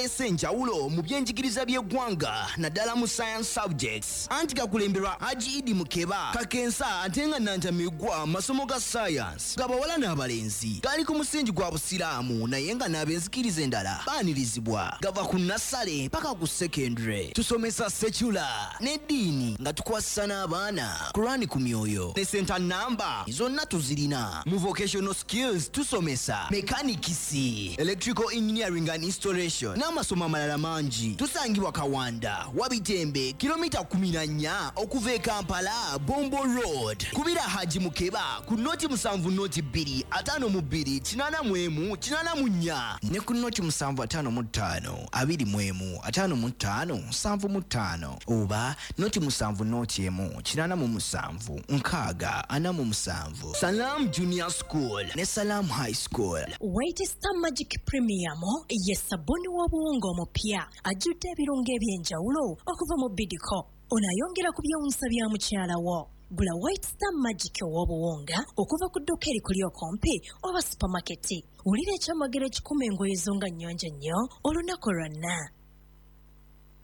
Galeese enjawulo mu byenjigiriza by'eggwanga naddala mu science subjects. Anti gakulemberwa Haji Idi Mukeba Kakensa, ate nga nnantameggwa mu masomo ga science g'abawala n'abalenzi. Gali ku musingi gwa Busiraamu naye nga n'ab'enzikiriza endala baanirizibwa. Gava ku nassale paka ku secondary. Tusomesa secular n'eddiini nga tukwasisa n'abaana Kurani ku myoyo ne center number zonna tuzirina. Mu vocational skills tusomesa mechanics, electrical engineering and installation n'amasomo amalala mangi. Tusangibwa Kawanda, Wabitembe, kilomita 14 okuva e Kampala, Bombo Road. Kubira Haji Mukeba ku 0 7 02 52 81 84 ne ku 0 7 55 21 55 75 oba 0 7 0 1 87 60 47. Salam Junior School ne Salam High School. White Star Magic Premium ye sabbuuni w'obuwunga omupya ajjudde ebirungo eby'enjawulo okuva mu Bidco. Ono ayongera ku byewuunyisa bya mukyala wo. Gula White Star Magic ow'obuwunga okuva ku dduuka erikuli okumpi oba supamaketi. Wulira ekyamagero ekikuma engoye zo nga nnyonjo nnyo olunaku lwonna.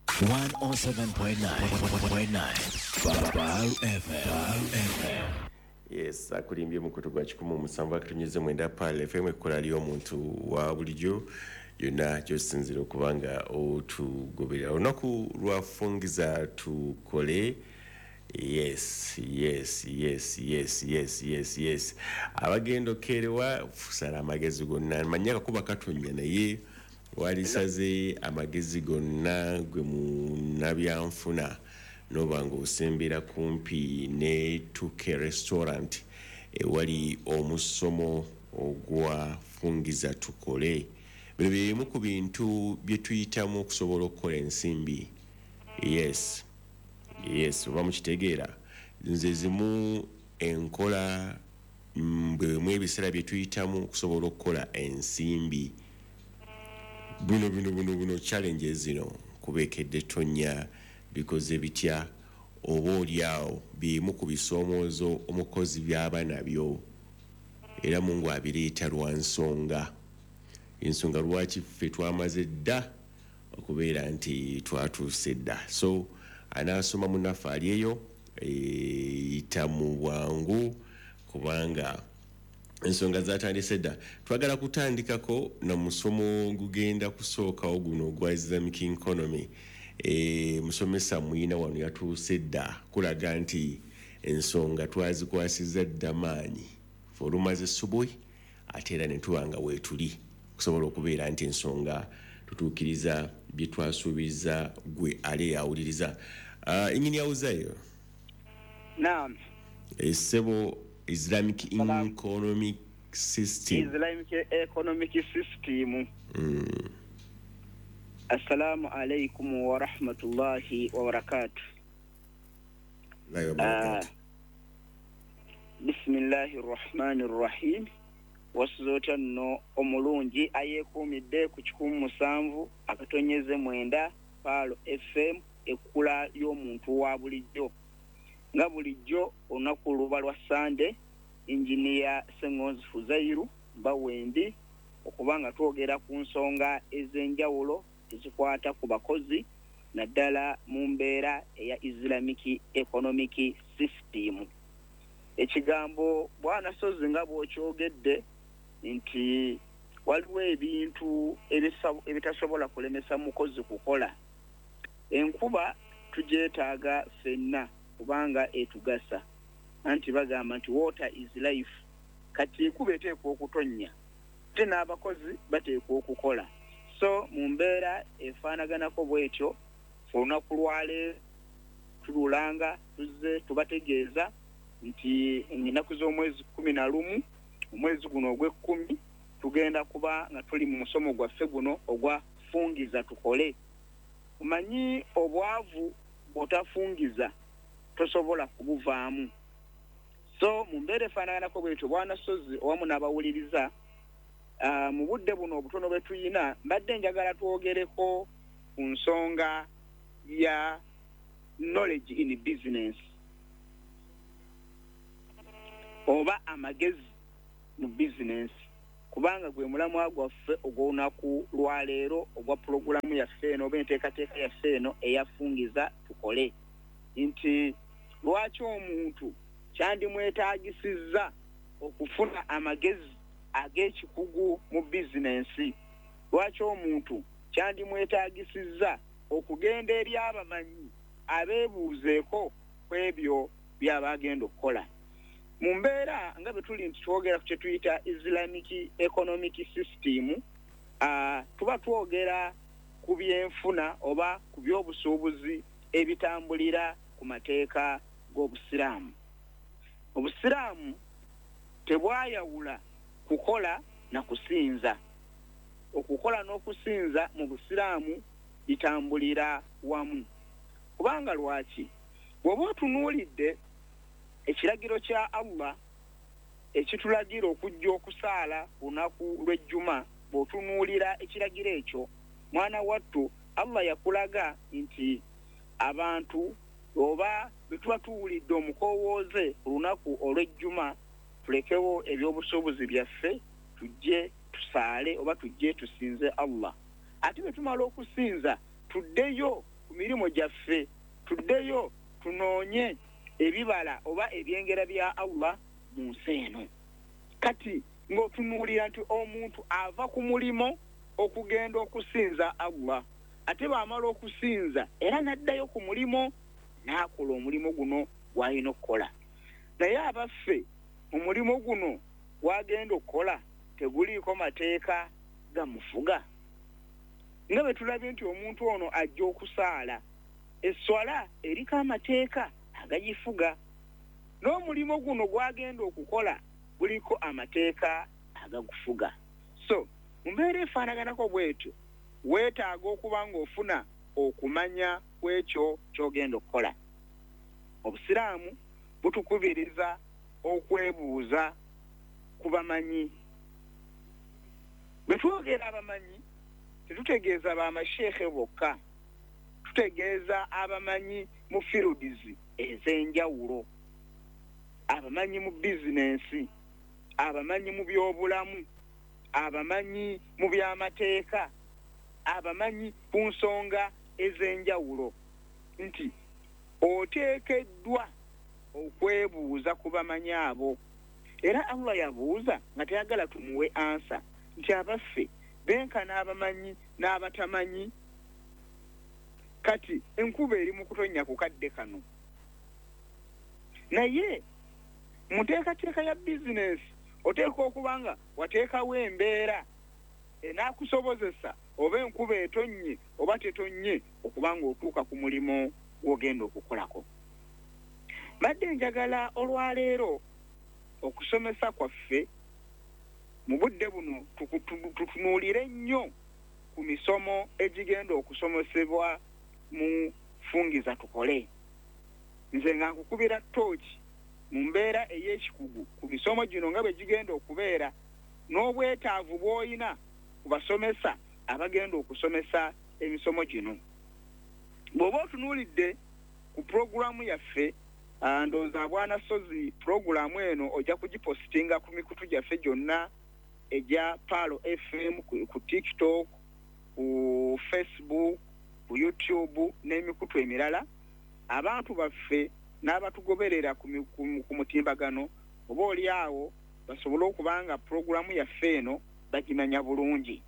107.9 Pearl FM. FM. Yes, akulimbye mukutu gwa 107.9 Pearl FM, ekkola ly'omuntu wa bulijjo yonna gy'osinziira okuba nga otugoberera. Olunaku lwa Fungiza Tukole. Yes, abagenda okeerewa fusala amagezi gonna. Manyi akakuba katonya, naye walisaze amagezi gonna gwe munnabyanfuna noba nga osembera kumpi ne Tuke Restaurant ewali omusomo ogwa Fungiza Tukole. Bino byemu ku bintu bye tuyitamu okusobola okukola ensimbi. Yes, oba mukitegeera, nze zimu enkola bwemu ebiseera bye tuyitamu okusobola okukola ensimbi. Buno challenges zino kubeekedde tonya bikoze bitya? Oba oliawo bimu ku bisoomoozo omukozi by'aba nabyo, era Mungu abireeta lwa nsonga, ensonga lwaki ffe twamaze dda okubeera nti twatuuse dda. So anaasoma munnaffe ali eyo, yita mu bwangu kubanga ensonga zatandise dda. Twagala kutandikako na musomo gugenda kusookawo guno ogwa Islamic economy. Musomesa muyina wano yatuuse dda kulaga nti ensonga twazikwasiza dda maanyi. Fe olumaze subuhi, ate era ne tuba nga weetuli okusobola okubeera nti ensonga tutuukiriza bye twasuubiza gwe ali awuliriza. Enyini yawuzayo. Naam. Essebo, Islamic Salam. economic system. Islamic economic system. Assalamu alaikum wa rahmatullahi wa barakatuh. Allahi wa barakatuh. Bismillahi rahmani rahim. Wasuze otya nno omulungi ayeekuumidde ku 107.9 Pearl FM, ekkula ly'omuntu wa bulijjo? Nga bulijjo olunaku luba lwa Sande, Injiniya Sengonzi Fuzairu mbawendi okuba nga twogera ku nsonga ez'enjawulo ezikwata ku bakozi, naddala mu mbeera eya Islamic economic system. Ekigambo bwana Sozi, nga bw'okyogedde nti waliwo ebintu ebitasobola kulemesa mukozi kukola. Enkuba tugyetaaga ffenna kubanga etugasa, anti bagamba nti "Water is life." Kati enkuba eteekwa okutonnya, ate n'abakozi bateekwa okukola. So mu mbeera efaanaganako bwetyo, olunaku lwaleero tululanga tuzze tubategeeza nti ennaku z'omwezi 11, omwezi guno ogw'ekkumi, tugenda kuba nga tuli mu musomo gwaffe guno ogwa Fungiza Tukole. Omanyi obwavu bw'otafungiza tosobola kubuvaamu. So mu mbeera efaanaganako bwetyo, bwana Sozi owamu n'abawuliriza, mu budde buno obutono bwe tuyina, mbadde njagala twogereko ku nsonga ya knowledge in business oba amagezi mu bizinensi, kubanga gwe mulamwa gwaffe ogw'olunaku lwaleero ogwa pulogulamu. yaffe eno oba enteekateeka yaffe eno eyafungiza tukole, nti lwaki omuntu kyandimwetaagisizza okufuna amagezi ag'ekikugu mu bizinensi? Lwaki omuntu kyandimwetaagisizza okugenda eri abamanyi abeebuuzeeko ku ebyo by'aba agenda okukola? Mu mbeera nga bwe tuli nti twogera ku kye tuyita Islamic economic system, tuba twogera ku byenfuna oba ku byobusuubuzi ebitambulira ku mateeka g'Obusiraamu. Obusiraamu tebwayawula kukola na kusinza. Okukola n'okusinza mu Busiraamu bitambulira wamu. Kubanga lwaki? Bw'oba otunuulidde ekiragiro kya Allah ekitulagira okujja okusaala lunaku lw'ejjuma, bw'otunuulira ekiragiro ekyo, mwana wattu, Allah yakulaga nti abantu oba bwe tuba tuwulidde omukoowooze ku lunaku olw'ejjuma, tulekewo ebyobusuubuzi byaffe tujje tusaale oba tujje tusinze Allah. Ate bwe tumala okusinza tuddeyo ku mirimu gyaffe, tuddeyo tunoonye ebibala oba ebyengera bya Allah mu nsi eno. Kati ng'otunuulira nti omuntu ava ku mulimo okugenda okusinza Allah, ate bw'amala okusinza era n'addayo ku mulimo n'akola omulimu guno gw'alina okukola. Naye abaffe, mu mulimu guno gw'agenda okukola teguliiko mateeka gamufuga? Nga bwe tulabye nti omuntu ono ajja okusaala, esswala eriko amateeka agagifuga, n'omulimu guno gw'agenda okukola guliko amateeka agagufuga. So mu mbeera efaanaganako bw'etyo, weetaaga okuba ng'ofuna okumanya kw'ekyo ky'ogenda okukola. Obusiraamu butukubiriza okwebuuza ku bamanyi. Bwe twogera abamanyi tetutegeeza bamasheekhe bokka, tutegeeza abamanyi mu firudizi ez'enjawulo, abamanyi mu bizinensi, abamanyi mu byobulamu, abamanyi mu byamateeka, abamanyi ku nsonga ez'enjawulo, nti oteekeddwa okwebuuza ku bamanyi abo. Era Allah yabuuza nga tayagala tumuwe ansa nti abaffe benkana abamanyi n'abatamanyi? Kati enkuba eri mu kutonnya ku kadde kano, naye mu nteekateeka ya bizinensi oteekwa okuba nga wateekawo embeera enaakusobozesa oba enkuba etonnye oba tetonnye okuba ng'otuuka ku mulimu gw'ogenda okukolako. Mbadde njagala olwaleero okusomesa kwaffe mu budde buno tutunuulire nnyo ku misomo egigenda okusomesebwa mu Fungiza Tukole. Nze nga nkukubira ttooki mu mbeera ey'ekikugu ku misomo gino nga bwe gigenda okubeera n'obwetaavu bw'olina ku basomesa abagenda okusomesa emisomo gino. Bw'oba otunuulidde ku pulogulaamu yaffe, ndowooza Bwana Ssozi pulogulaamu eno ojja kugipositinga ku mikutu gyaffe gyonna egya Pearl FM, ku TikTok, ku Facebook, ku YouTube n'emikutu emirala. Abantu baffe n'abatugoberera ku mutimbagano oba oli awo basobole okuba nga pulogulaamu yaffe eno bagimanya bulungi.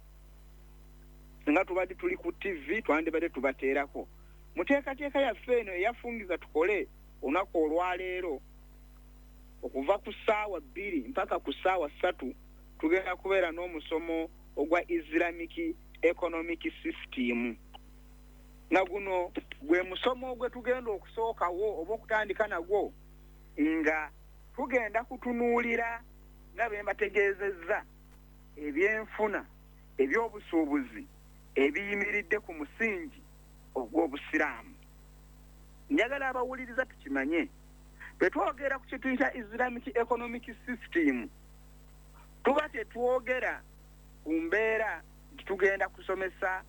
Singa tubadde tuli ku TV twandibadde tubateerako. Mu nteekateeka yaffe eno eyafungiza tukole olunaku olwaleero okuva ku ssaawa 2 mpaka ku ssaawa 3 tugenda kubeera n'omusomo ogwa Islamic Economic System. Nga guno gwe musomo gwe tugenda okusookawo oba okutandika nagwo, nga tugenda kutunuulira nga bwe mbategeezezza ebyenfuna, ebyobusuubuzi ebiyimiridde ku musingi ogw'Obusiraamu. Njagala abawuliriza tukimanye, bwe twogera ku kye tuyita Islamic Economic System, tuba tetwogera ku mbeera nti tugenda kusomesa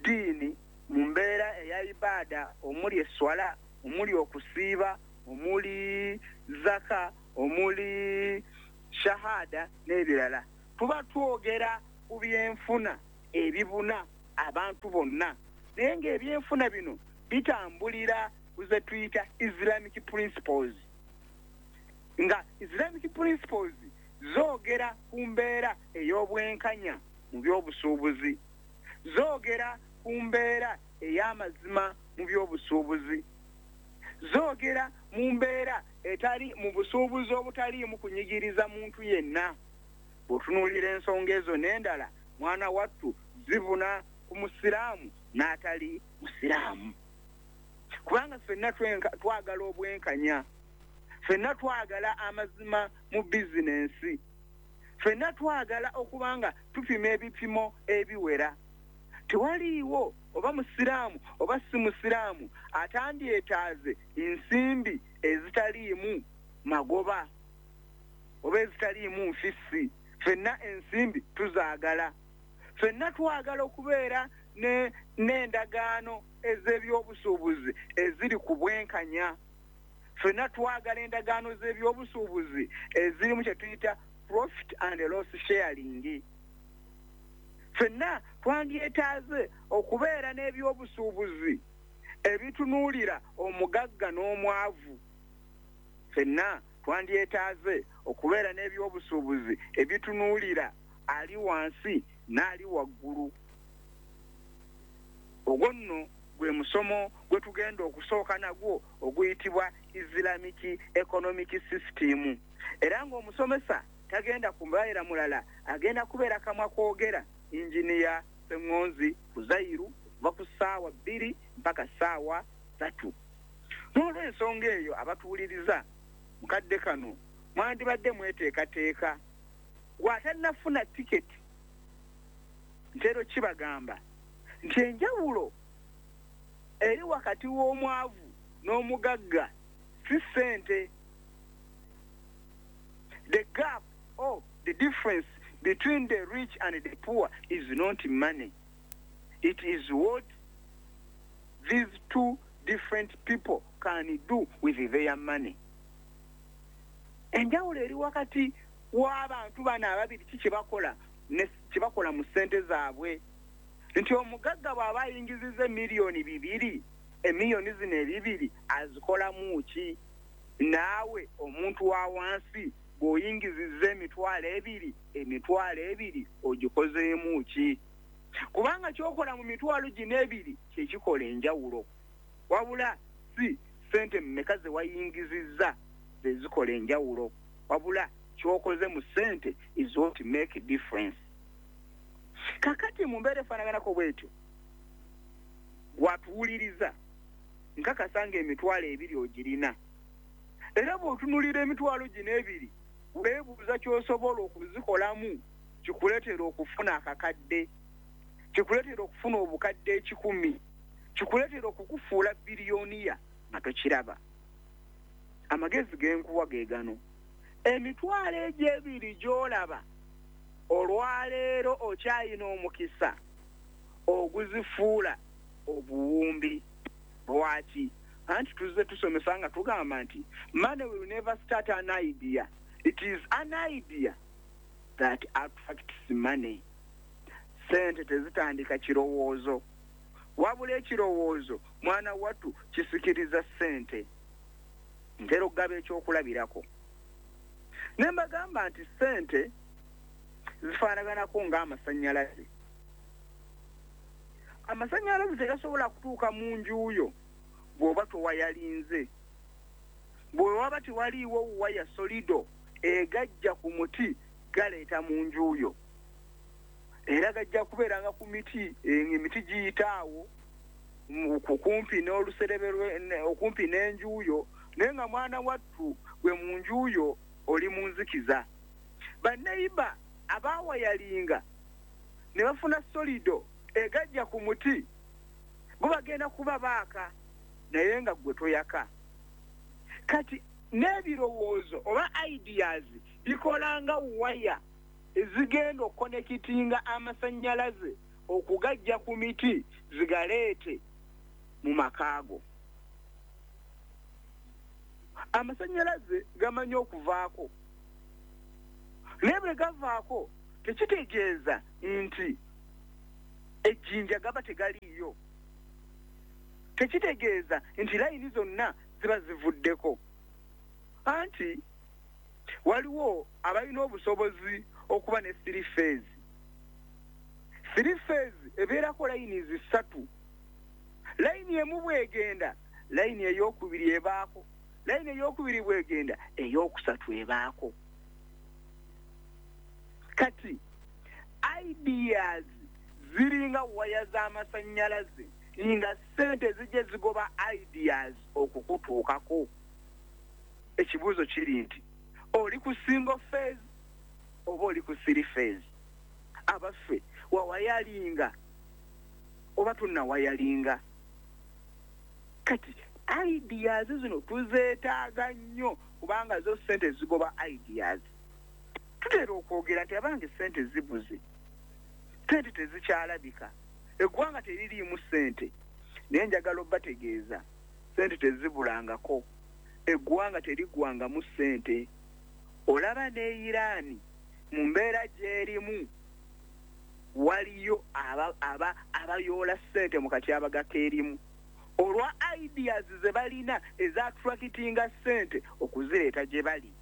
ddiini mu mbeera eya ibaada omuli esswala, omuli okusiiba, omuli zaka, omuli shahada n'ebirala. Tuba twogera ku byenfuna ebibuna abantu bonna, naye ng'ebyenfuna bino bitambulira ku ze tuyita Islamic principles, nga Islamic principles zoogera ku mbeera ey'obwenkanya mu by'obusuubuzi, zoogera ku mbeera ey'amazima mu by'obusuubuzi, zoogera mu mbeera etali mu busuubuzi obutaliimu kunyigiriza muntu yenna. Bw'otunuulira ensonga ezo n'endala, mwana wattu, zibuna ku musiraamu n'atali musiraamu, kubanga ffenna twagala obwenkanya, ffenna twagala amazima mu bizinensi, ffenna twagala okuba nga tupima ebipimo ebiwera. Tewaliiwo oba musiraamu oba si musiraamu atandyetaaze ensimbi ezitaliimu magoba oba ezitaliimu nfissi. Ffenna ensimbi tuzaagala, ffenna twagala okubeera n'endagaano ez'ebyobusuubuzi eziri ku bwenkanya, ffenna twagala endagaano z'ebyobusuubuzi ezirimu kye tuyita profit and loss sharing. Ffenna twandyetaaze okubeera n'ebyobusuubuzi ebitunuulira omugagga n'omwavu. Ffenna twandyetaaze okubeera n'ebyobusuubuzi ebitunuulira ali wansi n'ali waggulu. Ogwo nno gwe musomo gwe tugenda okusooka nagwo oguyitibwa Islamic Economic System, era ng'omusomesa tagenda kubeera mulala, agenda kubeera kamwa kwogera Injiniya Sseŋŋonzi Fuzairu okuva ku ssaawa 2 mpaka ssaawa 3. N'olw'ensonga eyo, abatuwuliriza mukadde kano mwandibadde mweteekateeka. Gw'atannafuna tiketi, ntero kibagamba nti enjawulo eri wakati w'omwavu n'omugagga si ssente. The gap or the difference between the rich and the poor is not money. It is what these two different people can do with their money. Enjawulo eri wakati w'abantu bano ababiri ki kyebakola kyebakola mu ssente zaabwe, nti omugagga bw'aba ayingiziza 2 miliyoni, emiliyoni zino ebibiri azikolamu ki? Naawe omuntu wa wansi bw'oyingiziza 20,000, 20,000 ogikozeemu ki? Kubanga kyokola mu mitwalo gino ebiri kyekikola enjawulo, wabula si sente mmeka ze wayingizizza ze zikola enjawulo, wabula kyokoze mu ssente is what make difference. Kakati mu mbeera efaanaganako bwetyo, gwatuwuliriza, nkakasa nga 20,000 ogirina, era bw'otunulira emitwalo gino ebiri weebuuza ky'osobola okuzikolamu kikuleetera okufuna akakadde, kikuleetera okufuna 100,000, kikuleetera okukufuula billionaire nga tokiraba. Amagezi genkuwa ge gano: emitwalo egyo ebiri gy'olaba olwaleero okyayina omukisa oguzifuula obuwumbi. Lwaki? Anti tuzze tusomesa nga tugamba nti money will never start an idea, it is an idea that attracts money. Sente tezitandika kirowoozo, wabula ekirowoozo, mwana wattu, kisikiriza ssente. Ntera okugaba ekyokulabirako ne mbagamba nti ssente zifaanaganako ng'amasannyalaze. Amasannyalaze tegasobola kutuuka mu njuuyo bw'oba towayalinze, bwe waba tewaliiwo waya solid egajja ku muti galeeta mu njuuyo, era gajja kubeeranga ku miti, emiti giyita awo kumpi n'oluserebe, okumpi n'enjuuyo, naye nga mwana wattu gwe mu njuuyo oli mu nzikiza. Banneyiba abaawayalinga ne bafuna solid egajja ku muti bo bagenda kuba baaka, naye nga gwe toyaka. Kati n'ebirowoozo oba ideas bikolanga waya ezigenda okukonekitinga amasannyalaze okugajja ku miti zigaleete mu makaago. Amasannyalaze gamanyi okuvaako, naye bwe gavaako tekitegeeza nti Ejjinja gaba tegaliiyo, tekitegeeza nti layini zonna ziba zivuddeko. Anti waliwo abalina obusobozi okuba ne three phase. Three phase ebeerako layini zisatu. Layini emu bwegenda, layini eyokubiri ebaako, layini eyokubiri bwegenda, eyokusatu ebaako. Kati ideas ziringa waya z'amasannyalaze, nga ssente zijje zigoba ideas okukutuukako. Ekibuuzo kiri nti oli ku single phase oba oli ku three phase? Abaffe, wawayalinga oba tunnawayalinga? Kati ideas zino tuzeetaaga nnyo, kubanga zo ssente zigoba ideas. Tutera okwogera nti abange ssente zibuze, ssente tezikyalabika, eggwanga teririimu ssente. Naye njagala obbategeeza, ssente tezibulangako, eggwanga terigwangamu ssente. Olaba ne Irani mu mbeera gy'erimu, waliyo abayoola ssente mu katyabaga k'erimu olwa ideas ze balina ezattractinga ssente okuzireeta gye bali.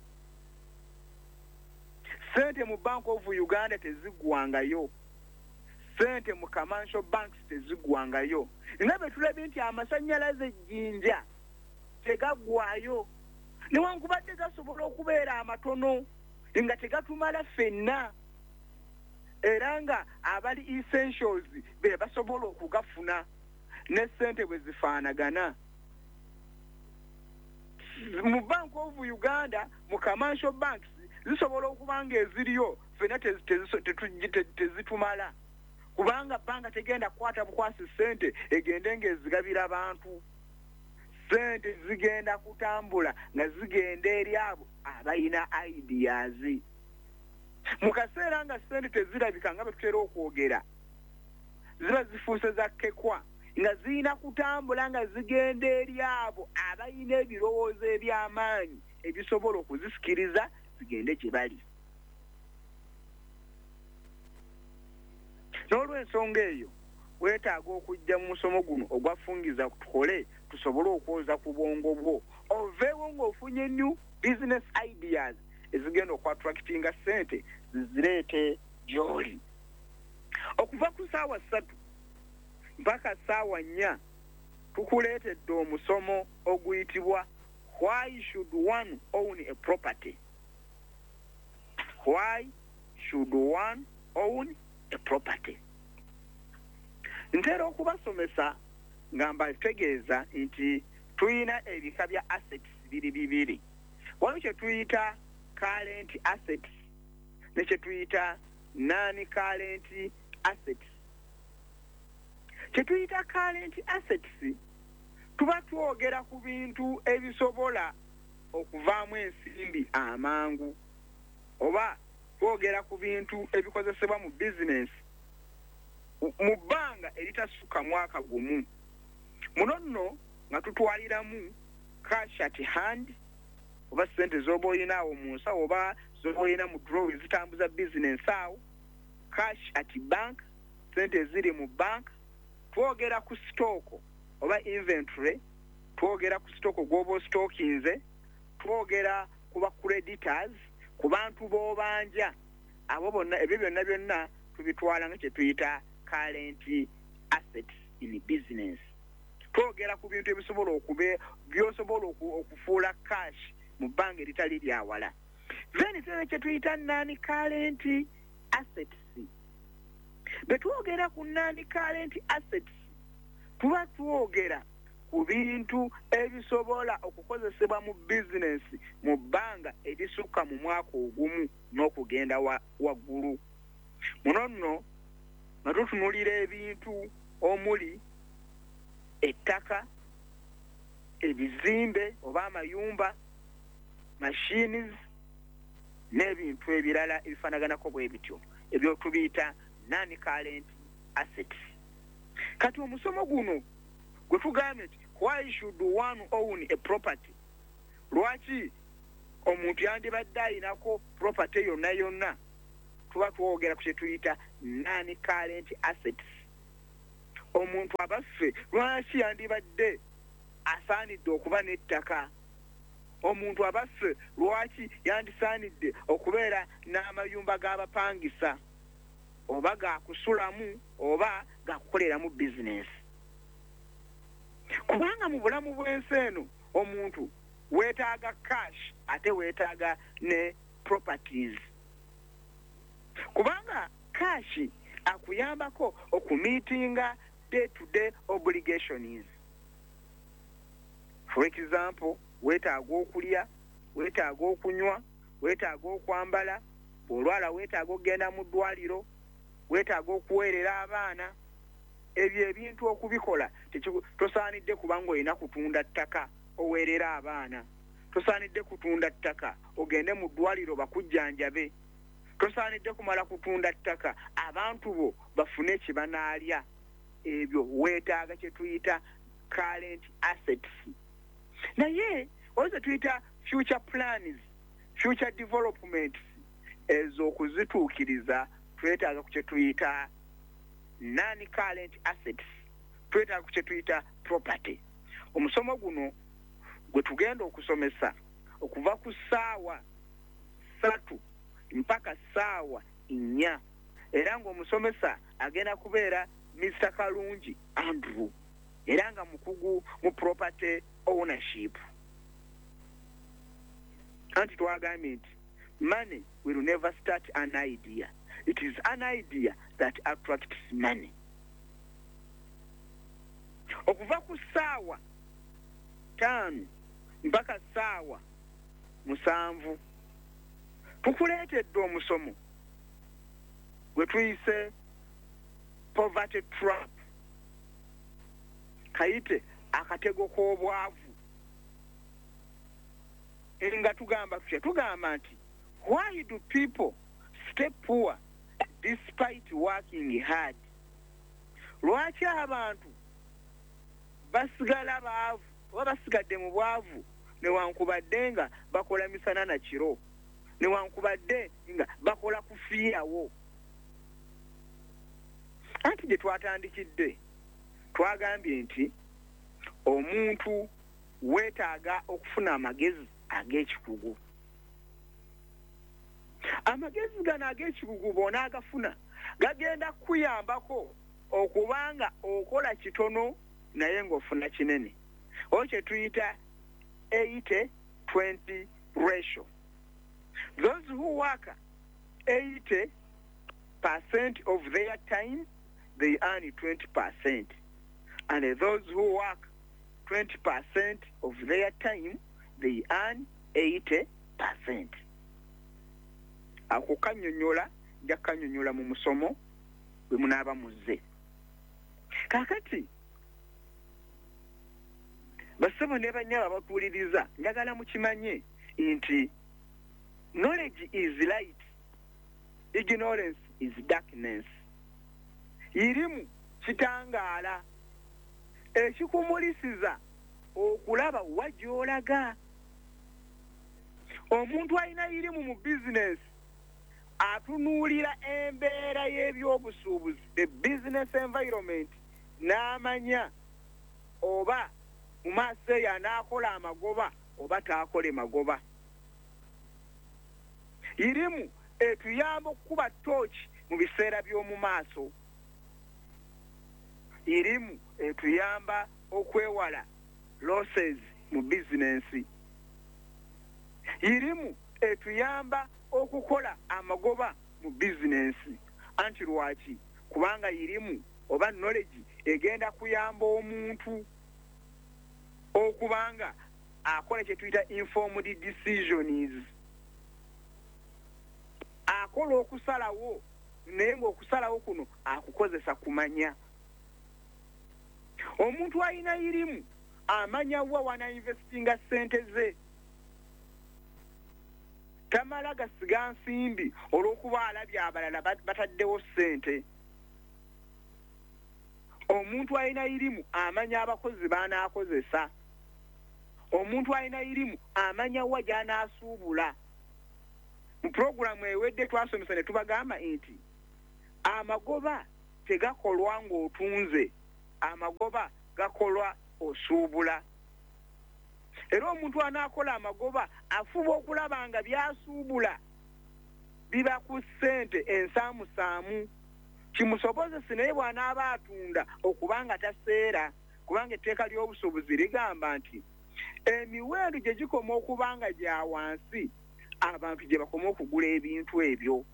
Ssente mu Bank of Uganda tezigwangayo, ssente mu commercial banks tezigwangayo, nga bwe tulabye nti amasannyalaze ejjinja tegaggwayo, newankubadde gasobola okubeera amatono nga tegatumala ffenna, era nga abali essentials be basobola okugafuna. Ne ssente bwe zifaanagana mu Bank of Uganda, mu commercial banks, zisobola okuba nga eziriyo ffenna tezitumala, kubanga banka tegenda kukwata bukwasi ssente egende ng'ezigabira abantu. Ssente zigenda kutambula nga zigenda eri abo abalina ideas. Mu kaseera nga ssente tezirabika, nga bwe tutera okwogera, ziba zifuuse za kkekwa, nga zirina kutambula nga zigenda eri abo abalina ebirowoozo eby'amaanyi ebisobola okuzisikiriza zigende gye bali. N'olw'ensonga eyo, weetaaga okujja mu musomo guno ogwafungiza, tukole tusobole okwoza ku bwongo bwo, oveewo ng'ofunye new business ideas ezigenda okuattractinga ssente zizireete gy'oli. Okuva ku 3:00 mpaka 4:00 tukuleetedde omusomo oguyitibwa "Why should one own a property?" Why should one own a property? Ntera okubasomesa nga mbategeeza nti tuyina ebika bya assets biri bibiri. Waliwo kye tuyita current assets ne kye tuyita non current assets. Kye tuyita current assets, tuba twogera ku bintu ebisobola okuvaamu ensimbi amangu, oba twogera ku bintu ebikozesebwa mu bizinensi mu bbanga eritasukka mwaka gumu. Muno nno nga tutwaliramu cash at hand, oba sente z'oba oyinaawo mu nsawo oba z'oba oyina mu drawer zitambuza bizinensi awo, cash at bank, sente eziri mu bank. Twogera ku stock oba inventory, twogera ku stock gw'oba ostockinze, twogera ku ba creditors, ku bantu b'obanja, abo bonna. Ebyo byonna byonna tubitwala nga kye tuyita current assets in business. Twogera ku bintu ebisobola okube byosobola okufuula cash mu bbanga eritali lyawala. Then tera kye tuyita non current assets. Bwe twogera ku non current assets, tuba twogera ku bintu ebisobola okukozesebwa mu bizinensi mu bbanga erisukka mu mwaka ogumu n'okugenda waggulu. Muno nno nga tutunulira ebintu omuli ettaka, ebizimbe oba amayumba, machines n'ebintu ebirala ebifaanaganako bwe bityo, ebyo tubiyita non current assets. Kati omusomo guno gwe tugambye nti "Why should one own a property?", lwaki omuntu yandibadde ayinako property yonna yonna, tuba twogera ku kye tuyita non current assets. Omuntu abaffe lwaki yandibadde asaanidde okuba n'ettaka? Omuntu abaffe lwaki yandisaanidde okubeera n'amayumba g'abapangisa, oba gakusulamu oba gakukoleramu bizinesi? Kubanga mu bulamu bw'ensi eno omuntu weetaaga cash, ate weetaaga ne properties, kubanga cash akuyambako okumeetinga day to day obligations. For example, weetaaga okulya, weetaaga okunywa, weetaaga okwambala, bw'olwala weetaaga okugenda mu ddwaliro, weetaaga okuweerera abaana. Ebyo ebintu okubikola tosaanidde kubanga olina kutunda ttaka oweerera abaana, tosaanidde kutunda ttaka ogende mu ddwaliro bakujjanjabe, tosaanidde kumala kutunda ttaka abantu bo bafune kye banaalya. Ebyo weetaaga kye tuyita current assets. Naye waliwo ze tuyita future plans, future developments. Ezo okuzituukiriza twetaaga ku kye tuyita non current assets, twetaaga ku kye tuyita property. Omusomo guno gwe tugenda okusomesa okuva ku ssaawa 3 mpaka ssaawa 4, era ng'omusomesa agenda kubeera Mr Kalungi Andrew, era nga mukugu mu property ownership. Anti twagambye nti money will never start an idea, it is an idea that attracts money. Okuva ku ssaawa 5 mpaka ssaawa 7 tukuleetedde omusomo gwe tuyise poverty trap, kayite akatego k'obwavu. Nga tugamba tutya? Tugamba nti why do people stay poor despite working hard? Lwaki abantu basigala baavu oba basigadde mu bwavu newankubadde nga bakola misana na kiro, newankubadde nga bakola kufiirawo? Anti gye twatandikidde twagambye nti omuntu weetaaga okufuna amagezi ag'ekikugu. Amagezi gano ag'ekikugu bw'onaagafuna gagenda kukuyambako okubanga okola kitono naye ng'ofuna kinene, oba kye tuyita 80 20 ratio. Those who work 80% of their time, they earn 20%, and those who work 20% of their time, they earn 80%. Ako kanyonyola, nja kanyonyola mu musomo bwe munaaba muzze. Kaakati bassebo ne bannyabo abatuwuliriza, njagala mukimanye nti knowledge is light, ignorance is darkness. Irimu kitangaala ekikumulisiza okulaba wa gy'olaga. Omuntu alina irimu mu bizinesi atunuulira embeera y'ebyobusuubuzi, the business environment, n'amanya oba mu maaso eyo anaakola amagoba oba taakole magoba. Irimu etuyamba okukuba tooki mu biseera by'omu maaso. Irimu etuyamba okwewala losses mu bizinensi. Irimu etuyamba okukola amagoba mu bizinensi. Anti lwaki? Kubanga irimu oba knowledge egenda kuyamba omuntu okubanga akola kye tuyita informed decisions, akola okusalawo naye ng'okusalawo kuno akukozesa kumanya. Omuntu alina irimu amanya wa wanainvestinga ssente ze, tamala gasiga nsimbi olw'okuba alabye abalala bataddewo ssente. Omuntu alina irimu amanya abakozi b'anaakozesa. Omuntu alina irimu amanya wa gy'anaasuubula. Mu puroguramu ewedde twasomesa ne tubagamba nti amagoba tegakolwa ng'otunze. Amagoba gakolwa osuubula. Era omuntu anaakola amagoba afuba okulaba nga byasuubula biba ku ssente ensaamusaamu, kimusobozese naye bw'anaaba atunda okubanga taseera, kubanga etteeka ly'obusuubuzi ligamba nti emiwendo gye gikoma okuba nga gya wansi abantu gye bakoma okugula ebintu ebyo,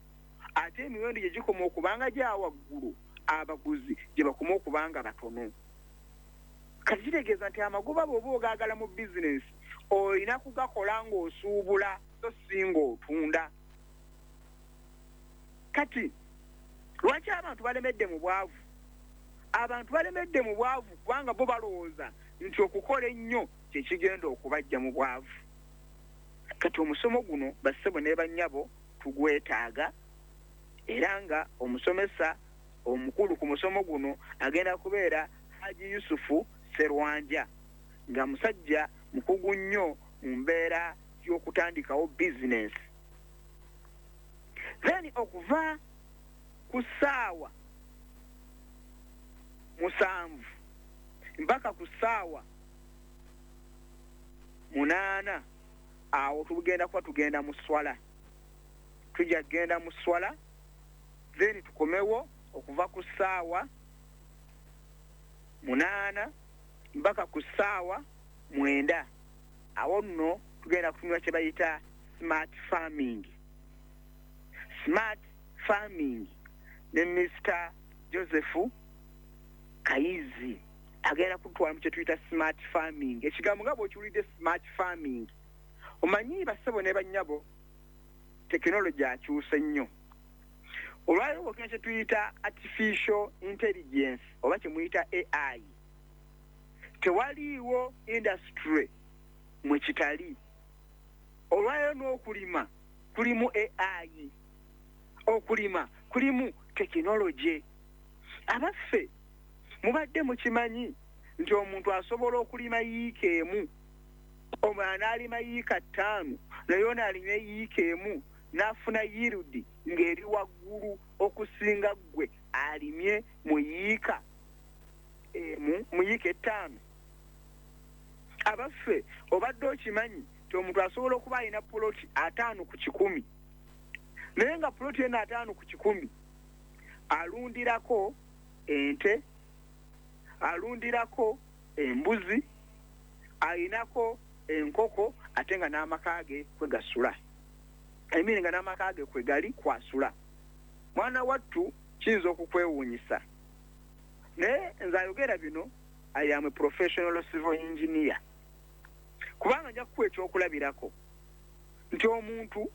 ate emiwendo gye gikoma okuba nga gya waggulu abaguzi gye bakoma okuba nga batono. Kati kitegeeza nti amagoba bw'oba ogaagala mu bizinensi olina kugakola ng'osuubula so si ng'otunda. Kati lwaki abantu balemedde mu bwavu? Abantu balemedde mu bwavu kubanga bo balowooza nti okukola ennyo kye kigenda okubajja mu bwavu. Kati omusomo guno bassebo ne bannyabo tugwetaaga, era nga omusomesa omukulu ku musomo guno agenda kubeera Haji Yusufu Serwanja, nga musajja mukugu nnyo mu mbeera y'okutandikawo bizinensi. Then okuva ku ssaawa 7 mpaka ku ssaawa 8 awo tugenda kuba tugenda mu swala. Tujja kugenda mu swala, then tukomewo okuva ku ssaawa 8 mpaka ku ssaawa 9. Awo nno tugenda kutunula kye bayita smart farming. Smart farming ne Mr. Joseph Kayizi agenda kutwala mu kye tuyita smart farming. Ekigambo nga bw'okiwulidde smart farming, omanyi bassebo ne bannyabo tekinologi akyuse nnyo. Olwaleero bw'okina kye tuyita artificial intelligence oba kye muyita AI, tewaliiwo industry mwe kitali. Olwaleero n'okulima kulimu AI, okulima kulimu tekinologi. Abaffe mubadde mukimanyi nti omuntu asobola okulima yiika emu, omulala n'alima yiika 5, naye ono alima yiika emu n'afuna yield ng'eri waggulu okusinga ggwe alimye mu yiika emu, mu yiika 5. Abaffe obadde okimanyi nti omuntu asobola okuba alina puloti 5 ku 100, naye nga puloti eno 5 ku 100 alundirako ente, alundirako embuzi, ayinako enkoko, ate nga n'amaka ge kwe gasula, emiri nga n'amaka ge kwe gali kwasula. Mwana wattu kiyinza okukwewuunyisa, naye nze ayogera bino I am a professional civil engineer, kubanga nja kukuwa ekyokulabirako nti omuntu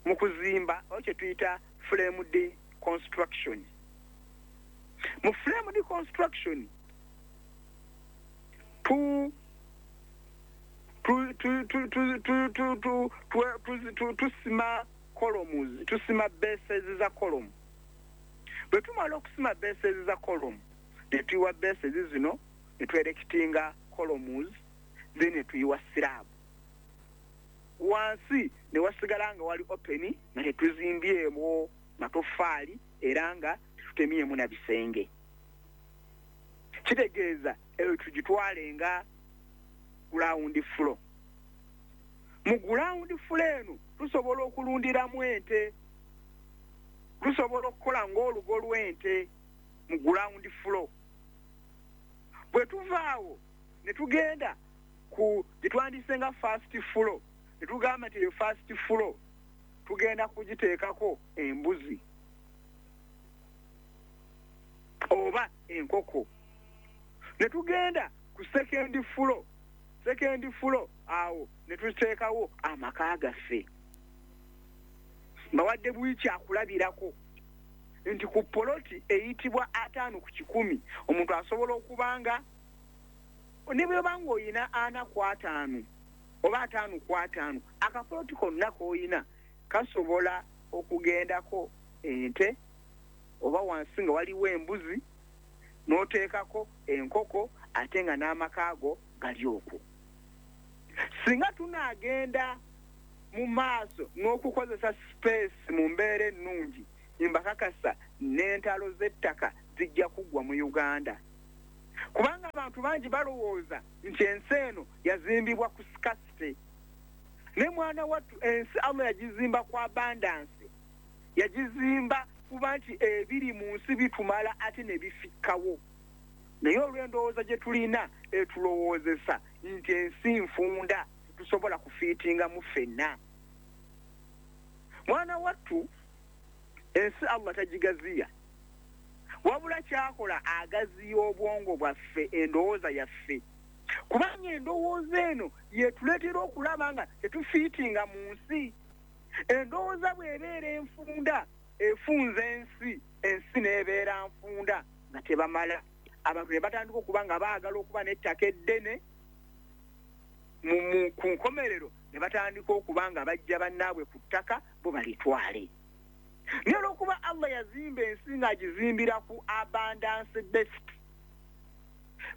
mu kuzimba oba kye tuyita framed construction. Mu framed construction tusima columns, tusima bases za column. Bwe tumala okusima bases za column, ne tuyiwa bases zino, ne twerekitinga columns, then ne tuyiwa slab. Wansi ne wasigala nga wali open, nga tetuzimbyemu matoffaali era nga tetutemyemu na bisenge. Kitegeeza eyo tugitwale nga ground floor. Mu ground floor eno tusobola okulundiramu ente, tusobola okukola ng'olugo lw'ente mu ground floor. Bwe tuvaawo ne tugenda ku gye twandise nga first floor, ne tugamba nti eyo first floor tugenda kugiteekako embuzi oba enkoko. Ne tugenda ku second floor, second floor awo ne tuteekawo amaka gaffe. Mbawadde bwikyakulabirako nti ku poloti eyitibwa 5 ku 100 omuntu asobola okubanga ne bw'oba ng'oyina 4 ku 5 oba 5 ku 5, akapoloti konna k'oyina kasobola okugendako ente oba wansi nga waliwo embuzi n'oteekako enkoko, ate nga n'amaka ago gali okwo. Singa tunaagenda mu maaso n'okukozesa space mu mbeera ennungi, mbakakasa n'entalo z'ettaka zijja kuggwa mu Uganda. Kubanga abantu bangi balowooza nti ensi eno yazimbibwa ku scarcity. Ne mwana wattu, ensi Allah yagizimba ku abundance, yagizimba kuba nti ebiri mu nsi bitumala ate ne bifikkawo. Naye olw'endowooza gye tulina etulowoozesa nti ensi nfunda, tusobola kufiitingamu ffenna. Mwana wattu, ensi Allah tagigaziya, wabula kyakola agaziya obwongo bwaffe, endowooza yaffe, kubanga endowooza eno yetuleetera okulaba nga tetufiitinga mu nsi. Endowooza bw'ebeera enfunda efunza ensi, ensi n'ebeera nfunda nga tebamala. Abantu ne batandika okuba nga baagala okuba n'ettaka eddene, ku nkomerero ne batandika okuba nga bajja bannaabwe ku ttaka bo balitwale. Naye olw'okuba Allah yazimba ensi ng'agizimbira ku abundance based,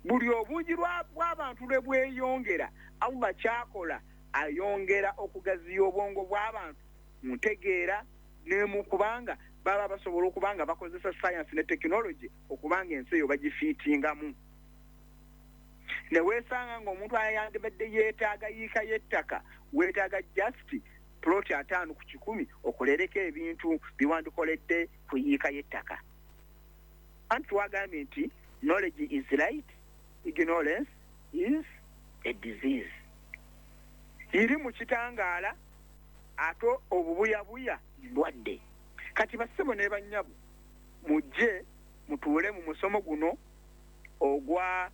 buli obungi bw'abantu lwe bweyongera, Allah kyakola ayongera okugaziya obwongo bw'abantu mu ntegeera ne mu kubanga baba basobola okuba nga bakozesa science ne technology okuba nga ensi eyo bagifiitingamu. Ne weesanga ng'omuntu ayandibadde yeetaaga yiika y'ettaka, weetaaga just ploti 50 ku 100 okolereko ebintu biwandikoledde ku yiika y'ettaka. Anti twagambye nti knowledge is light, ignorance is a disease. Iri mu kitangaala, ate obubuyabuya ndwadde. Kati bassebo ne bannyabo, mujje mutuule mu musomo guno ogwa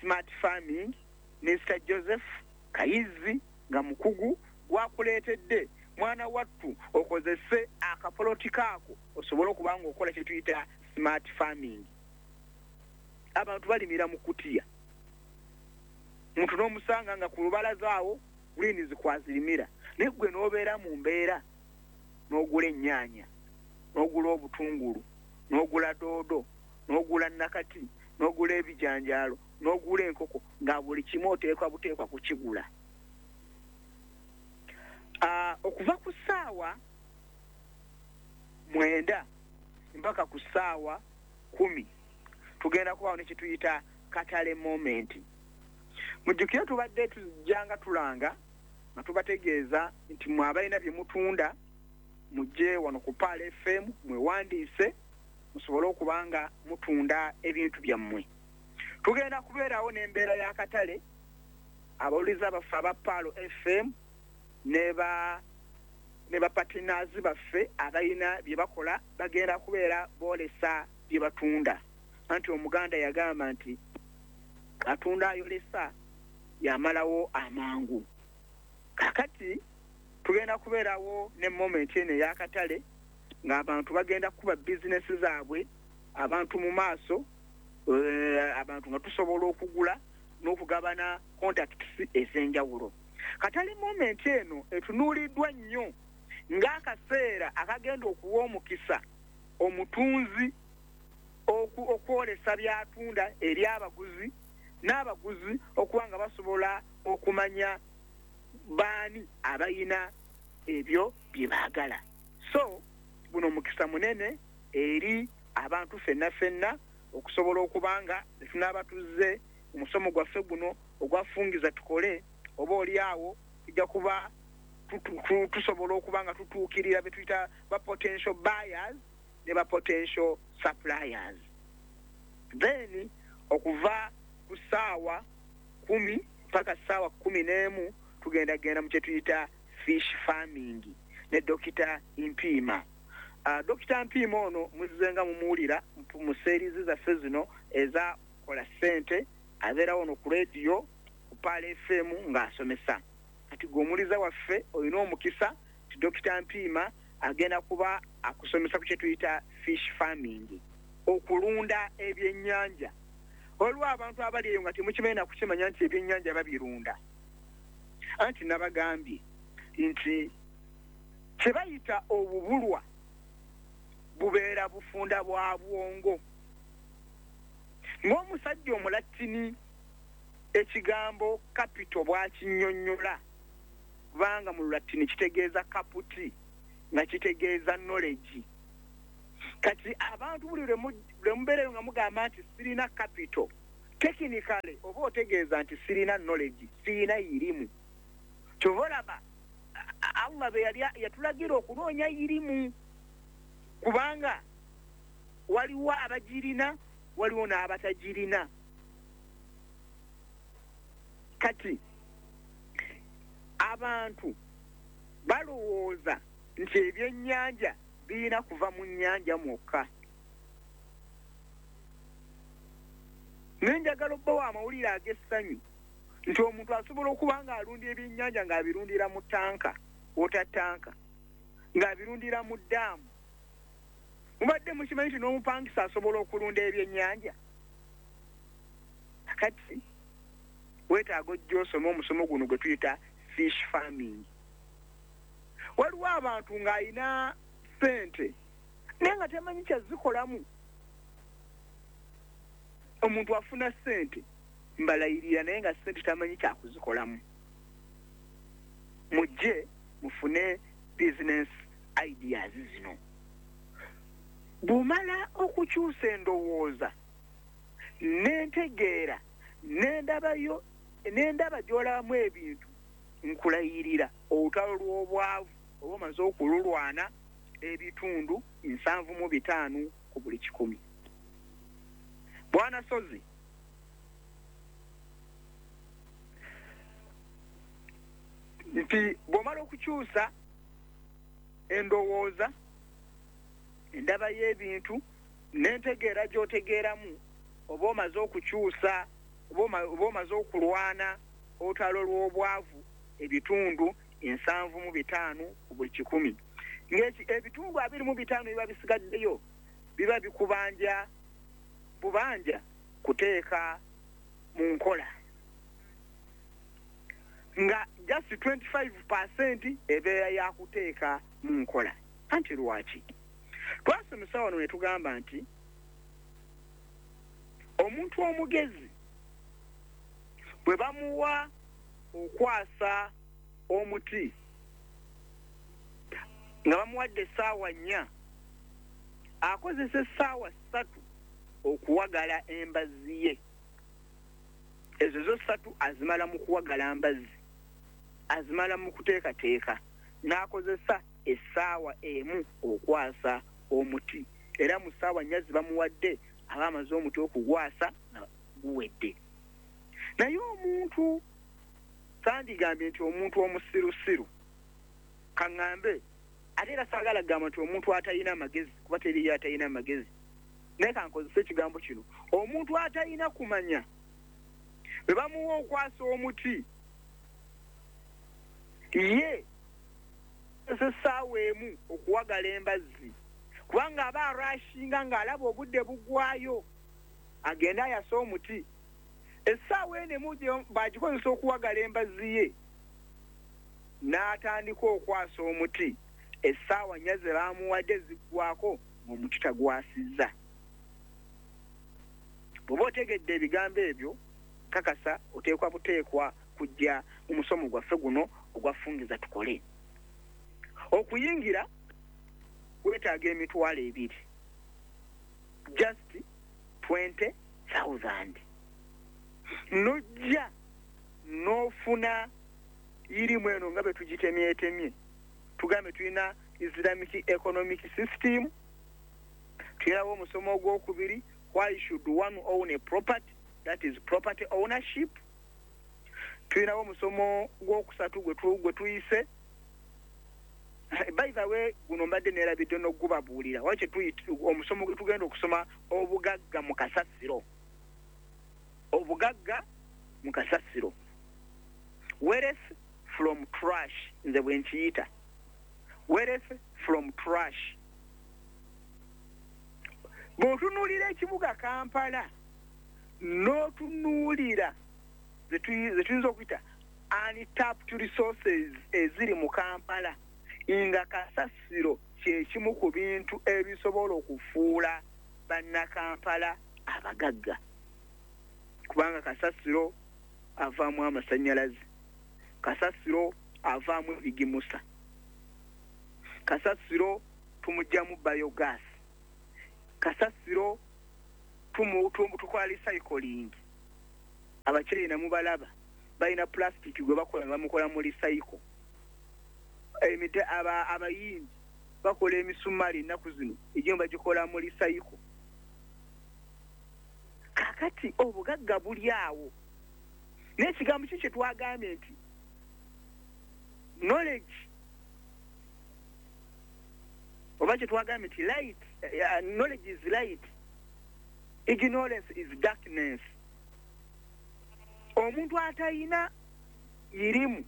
smart farming. Mr Joseph Kayizi nga mukugu gwakuleetedde. Mwana wattu, okozese akapoloti kaako osobole okuba nga okola kye tuyita smart farming. Abantu balimira mu kutiya, muntu n'omusanga nga ku lubalaza awo greens kwazirimira, naye gwe n'obeera mu mbeera n'ogula ennyaanya, n'ogula obutungulu, n'ogula doodo, n'ogula nakati, n'ogula ebijanjaalo, n'ogula enkoko, nga buli kimu oteekwa buteekwa kukigula. Okuva ku ssaawa 9 mpaka ku ssaawa 10 tugenda kubaawo ne kyetuyita katale moment. Mujjukire tubadde tujjanga tulanga nga tubategeeza nti mwe abalina bye mutunda mujje wano ku Pearl FM mwewandiise musobole okuba nga mutunda ebintu byammwe. Tugenda kubeerawo n'embeera y'akatale. Abawuliza baffe aba Pearl FM ne ba ne ba partners baffe abalina bye bakola bagenda kubeera boolesa bye batunda. Anti Omuganda yagamba nti atunda ayolesa yamalawo amangu. Kakati tugenda kubeerawo ne moment eno ey'akatale ng'abantu bagenda kukuba bizinesi zaabwe abantu mu maaso, abantu nga tusobola okugula n'okugabana contacts ez'enjawulo. Katale moment eno etunuuliddwa nnyo ng'akaseera akagenda okuwa omukisa omutunzi okwolesa by'atunda eri abaguzi, n'abaguzi okuba nga basobola okumanya baani abayina ebyo bye baagala. So guno mukisa munene eri abantu ffenna ffenna okusobola okuba nga tunaaba tuzze omusomo gwaffe guno ogwafungiza tukole, oba oli awo tujja kuba tusobola okuba nga tutuukirira be tuyita ba potential buyers ne ba potential suppliers. Then okuva ku ssaawa 10 paka ssaawa 11 tugenda genda mu kyetuyita fish farming ne Dokita Mpiima. Dokita Mpiima ono muzze nga mumuwulira mu series zaffe zino eza Kola Ssente. Abeerawo no ku radio ku Pearl FM ng'asomesa. Kati gwe omuliza waffe olina omukisa ti Dokita Mpiima agenda kuba akusomesa ku kyetuyita fish farming, okulunda ebyennyanja. Waliwo abantu abali eyo nga temukimanyi nakukimanya nti ebyennyanja babirunda. Anti nabagambye nti kye bayita obubulwa bubeera bufunda bwa bwongo. Ng'omusajja Omulatini ekigambo capital bw'akinnyonnyola, kubanga mu Lulatini kitegeeza caput, nga kitegeeza knowledge. Kati abantu buli lwe mubeereyo nga mugamba nti sirina capital, Technically oba otegeeza nti sirina knowledge, sirina irimu. Kyova olaba Allah bwe yali yatulagira okunoonya irimu, kubanga waliwo abagirina, waliwo n'abatagirina. Kati abantu balowooza nti ebyennyanja birina kuva mu nnyanja mwokka. Naye njagala obbawa amawulire ag'essanyu nti omuntu asobola okuba ng'alunda ebyennyanja ng'abirundira mu ttanka, water tanka, ng'abirundira mu ddaamu. Mubadde mukimanyi nti n'omupangisa asobola okulunda ebyennyanja? Kati weetaaga ojja osome omusomo guno gwe tuyita fish farming. Waliwo abantu ng'alina ssente naye nga tamanyi kyazikolamu. Omuntu afuna ssente mbalayirira naye nga ssente tamanyi kyakuzikolamu. Mujje mufune business ideas zino. Bw'omala okukyusa endowooza n'entegeera n'endabayo n'endaba gy'olabamu ebintu, nkulayirira olutalo lw'obwavu oba omaze okululwana ebitundu 75 ku buli 100. Bwana Sozi, nti bw'omala okukyusa endowooza, endaba y'ebintu n'entegeera gy'otegeeramu, oba omaze okukyusa, oba omaze okulwana olutalo lw'obwavu ebitundu 75 ku buli 100. Ng'ebitundu 25 biba bisigaddeyo biba bikubanja bubanja kuteeka mu nkola, nga just 25% ebeera yakuteeka mu nkola. Anti lwaki twasomesa wano ne tugamba nti omuntu omugezi bwe bamuwa okwasa omuti nga bamuwadde essaawa 4, akozesa essaawa 3 okuwagala embazzi ye. Ezo zo 3 azimala mu kuwagala mbazzi, azimala mu kuteekateeka, n'akozesa essaawa 1 okwasa omuti. Era mu ssaawa 4 zibamuwadde aba amaze omuti okugwasa nga guwedde. Naye omuntu sandigambye nti omuntu omusirusiru, kaŋŋambe ate era saagala kugamba nti omuntu atalina amagezi, kuba teriyo atalina amagezi, naye kankozese ekigambo kino, omuntu atalina kumanya bwe bamuwa okwasa omuti, ye essaawa 1 okuwagala embazzi, kubanga aba arashinga ng'alaba obudde buggwayo agende ayase omuti. Essaawa eno emu bagikozesa okuwagala embazzi ye, n'atandika okwasa omuti. Essaawa 4 ze bamuwadde ziggwako ng'omuti tagwasizza. Bw'oba otegedde ebigambo ebyo, kakasa oteekwa buteekwa kujja mu musomo gwaffe guno ogwafungiza tukole. Okuyingira weetaaga 20,000, just 20,000. Nojja n'ofuna irimu eno nga bwe tugitemyetemye. Tugambe tulina Islamic economic system, tulinawo omusomo ogwokubiri, why should one own a property, that is property ownership. Tulinawo omusomo gwokusatu gwe tuyise, by the way guno mbadde neerabidde n'okugubabuulira, waki omusomo gwe tugenda okusoma obugagga mu kasasiro. Obugagga mu kasasiro, wealth from trash, nze bwe nkiyita wealth from trash. Bw'otunuulira ekibuga Kampala n'otunuulira ze tuyinza okuyita untapped resources eziri mu Kampala, nga kasasiro kyekimu ku bintu ebisobola okufuula bannakampala abagagga, kubanga kasasiro avaamu amasannyalaze, kasasiro avaamu ebigimusa, kasasiro tumugyamu biogas, kasasiro tukola recycling. Abachina mubalaba balina plastic gwe bakola bamukola mu recycle. Emite abayindi bakola emisumali ennaku zino egimu bagikola mu recycle. Kakati obugagga buli awo, n'ekigambo ki kye twagambye nti knowledge, oba kye twagambye nti light, knowledge is light, ignorance is darkness. Omuntu atayina irimu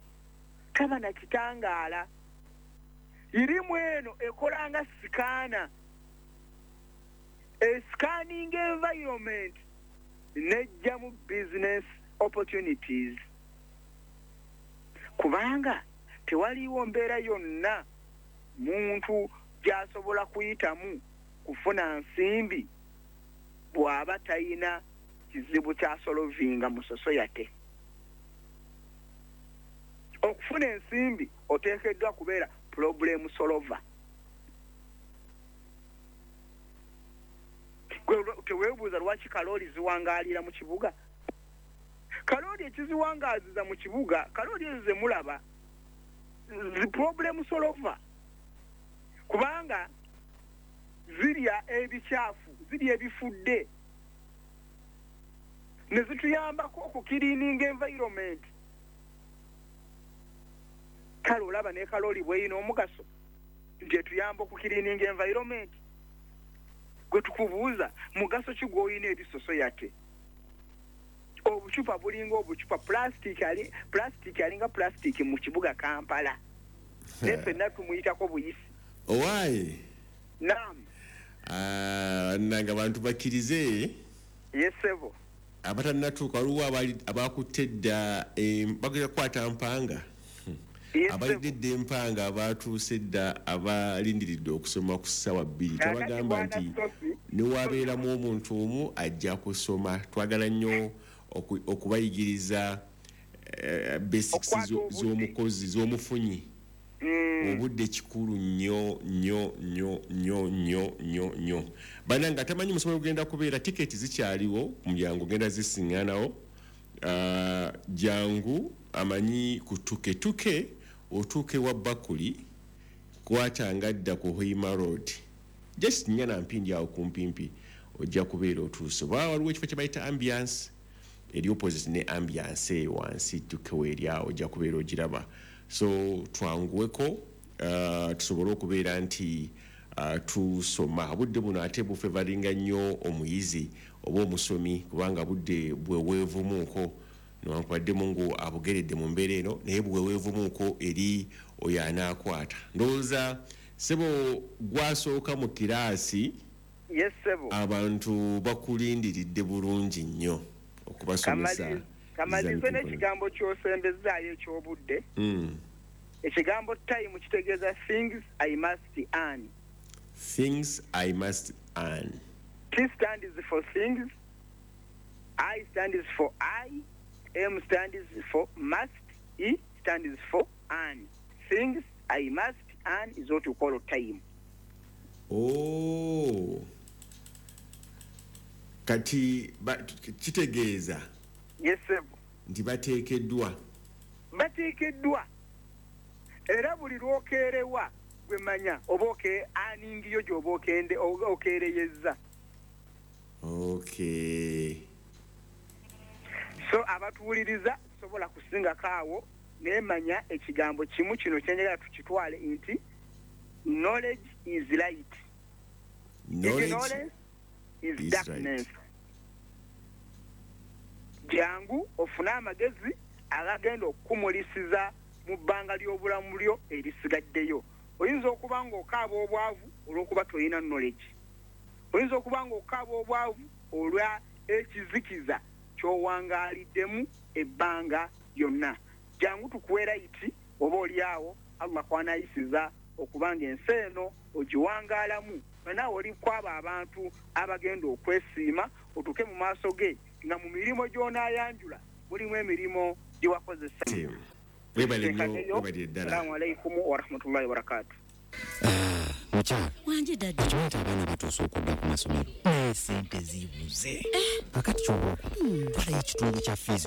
taba na kitangaala. Irimu eno ekolanga scanner, a scanning environment nejjamu business opportunities, kubanga tewaliwo mbeera yonna muntu gy'asobola kuyitamu kufuna nsimbi bw'aba tayina kizibu kyasolovinga mu society. Okufuna ensimbi oteekeddwa kubeera problem solver. Teweebuuza lwaki kalooli ziwangaalira mu kibuga. Kalooli ekiziwangaaziza mu kibuga, kalooli ezo ze mulaba zi problem solver, kubanga zirya ebikyafu, zirya ebifudde, ne zituyambako okukiriininga environment. Kale olaba ne kalooli bweyina omugaso nti etuyamba okukiriininga environment. Gwe tukubuuza mugaso ki gw'olina eri society? Obucupa bulinga obucupa plastic alinga plastic mu kibuga Kampala, naye ffenna tumuyitako buyisi. Owaaye Naam. Nanga abantu bakkirize. Yes sebo. Abatannatuuka waliwo abakutte edda, bagenda kukwata mpanga, abalidde edda empanga, abatuuse edda, abalindiridde okusoma ku ssaawa 2. Twabagamba nti newabeeramu omuntu omu ajja kusoma. Twagala nnyo okubayigiriza basics z'omukozi, z'omufunyi. Obudde kikulu nnyo nnyo nnyo nnyo nnyo nnyo nnyo. Bannange atamanyi musomo ogenda kubeera, tiketi zikyaliwo ku mulyango, genda zisiŋŋanawo. Jangu amanyi kutuketuke otuuke wa Bakuli, kwatanga dda ku Hoima Road, just nnyana mpindi awo kumpimpi ojja kubeera otuuse. Oba waliwo ekifo kye bayita ambiance, eri opposite ne ambiance eyo wansi tukewo eri awo ojja kubeera ogiraba. So twanguweko tusobole okubeera nti tusoma. Obudde buno ate bufevaringa nnyo omuyizi oba omusomi, kubanga budde bweweevumuuko, newankubadde Mungu abugeredde mu mbeera eno, naye bweweevumuuko eri oyo anaakwata. Ndowooza sebo gwasooka mu kiraasi. Yes sebo. Abantu bakulindiridde bulungi nnyo okubasomesa. Kamalize n'ekigambo ky'osembezaayo eky'obudde. Ekigambo time kitegeeza things I must earn. Things I must earn. T stands for things, I stands for I, M stands for must, E stands for earn. Things I must earn is what you call time. Oh. Kati kitegeeza. Yes sir. Nti bateekeddwa. Bateekeddwa. Era buli lw'okeerewa gwe manya oba aningiyo gy'oba okeereyezza. Okay. So abatuwuliriza sobola kusingako awo, naye manya ekigambo kimu kino kyenjagala tukitwale nti knowledge is light. Knowledge is darkness. Jangu ofune amagezi agagenda okukumulisiza mu bbanga ly'obulamu lyo erisigaddeyo. Oyinza okuba ng'okaaba obwavu olw'okuba tolina knowledge. Oyinza okuba ng'okaaba obwavu olwa ekizikiza ky'owangaaliddemu ebbanga lyonna. Jangu tukuwe right oba oli awo Allah kw'anaayisiza okubanga ensi eno ogiwangaalamu, naawe oli kwabo abantu abagenda okwesiima otuuke mu maaso ge nga mu mirimu gy'onaayanjula mulimu emirimu gye wakozesa. Webale nnyo, webalire ddala. Assalamu alaikum warahmatullahi wabarakatuh. Mukyala Wangi daddy. Okimanyi nti abaana batuuse okudda ku masomero, naye sente zibuze. Kakati kyoba okola, twalayo ekitundu kya fiizi.